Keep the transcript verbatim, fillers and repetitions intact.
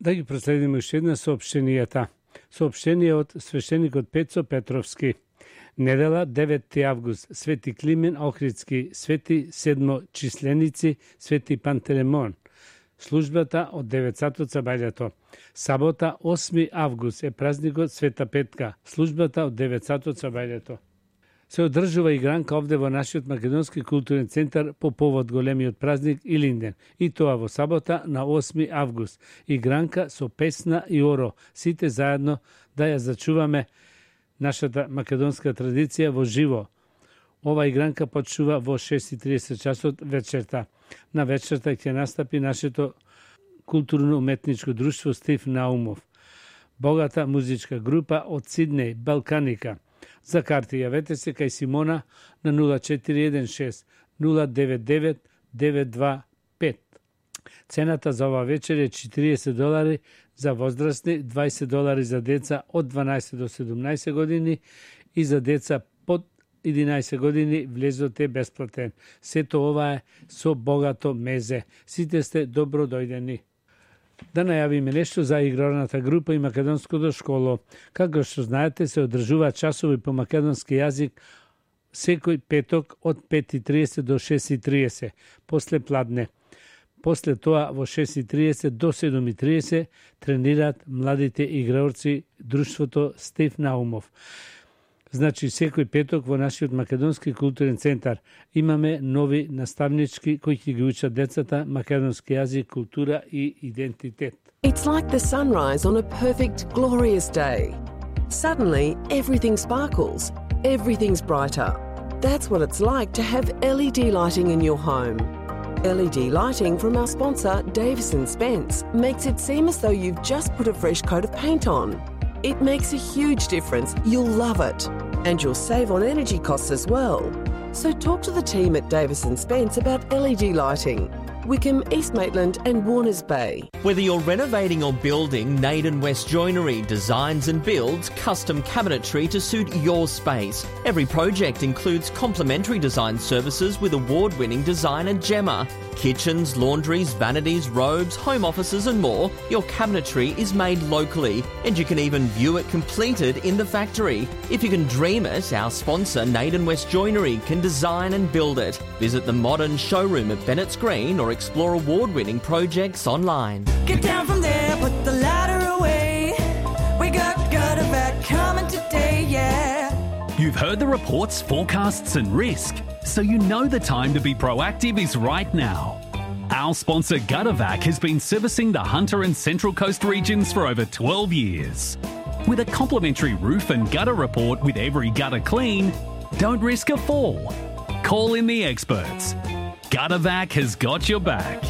Да ги проследиме уште една соопштенијата. Соопштение од свештеникот Пецо Петровски. Недела, деветти август, Свети Климен Охридски, Свети Седмочисленици, Свети Пантелеймон. Службата од девет сати сабајлето. Сабота, осми август, е празникот Света Петка. Службата од девет сати сабајлето. Се одржува игранка овде во нашиот Македонски културен центар по повод големиот празник Илинден. И тоа во сабота на осми август. Игранка со песна и оро. Сите заедно да ја зачуваме нашата македонска традиција во живо. Ова игранка почнува во шест и тридесет часот вечерта. На вечерта ќе настапи нашето културно-уметничко друштво Стив Наумов. Богата музичка група од Сиднеј, Балканика. За карти јавете се кај Симона на нула четири еден шест нула девет девет девет два пет. Цената за ова вечер е четириесет долари за возрастни, дваесет долари за деца од дванаесет до седумнаесет години и за деца под единаесет години влезот е бесплатен. Сето ова е со богато мезе. Сите сте добро дојдени. Да најавиме нешто за игралната група и македонското школо. Како што знаете, се одржуваат часови по македонски јазик секој петок од пет и тридесет до шест и тридесет, после пладне. После тоа во шест и тридесет до седум и тридесет тренираат младите играорци друштвото Стив Наумов. Значи, секој петок во нашиот Македонски културен центар имаме нови наставнички кои ќе ги учат децата македонски јазик, култура и идентитет. It's like the sunrise on a perfect, glorious day. Suddenly, everything sparkles. Everything's brighter. That's what it's like to have L E D lighting in your home. L E D lighting from our sponsor, Davis and Spence, makes it seem as though you've just put a fresh coat of paint on. It makes a huge difference. You'll love it. And you'll save on energy costs as well. So talk to the team at Davis and Spence about L E D lighting. Wickham, East Maitland and Warners Bay. Whether you're renovating or building, Naden West Joinery designs and builds custom cabinetry to suit your space. Every project includes complimentary design services with award-winning designer Gemma. Kitchens, laundries, vanities, robes, home offices and more. Your cabinetry is made locally and you can even view it completed in the factory. If you can dream it, our sponsor Naden West Joinery can design and build it. Visit the modern showroom at Bennett's Green or explore award-winning projects online. Get down from there, put the ladder away. We got Gutterback coming today, yeah. You've heard the reports, forecasts and risk, so you know the time to be proactive is right now. Our sponsor Guttervac has been servicing the Hunter and Central Coast regions for over twelve years. With a complimentary roof and gutter report with every gutter clean, don't risk a fall. Call in the experts. Guttervac has got your back.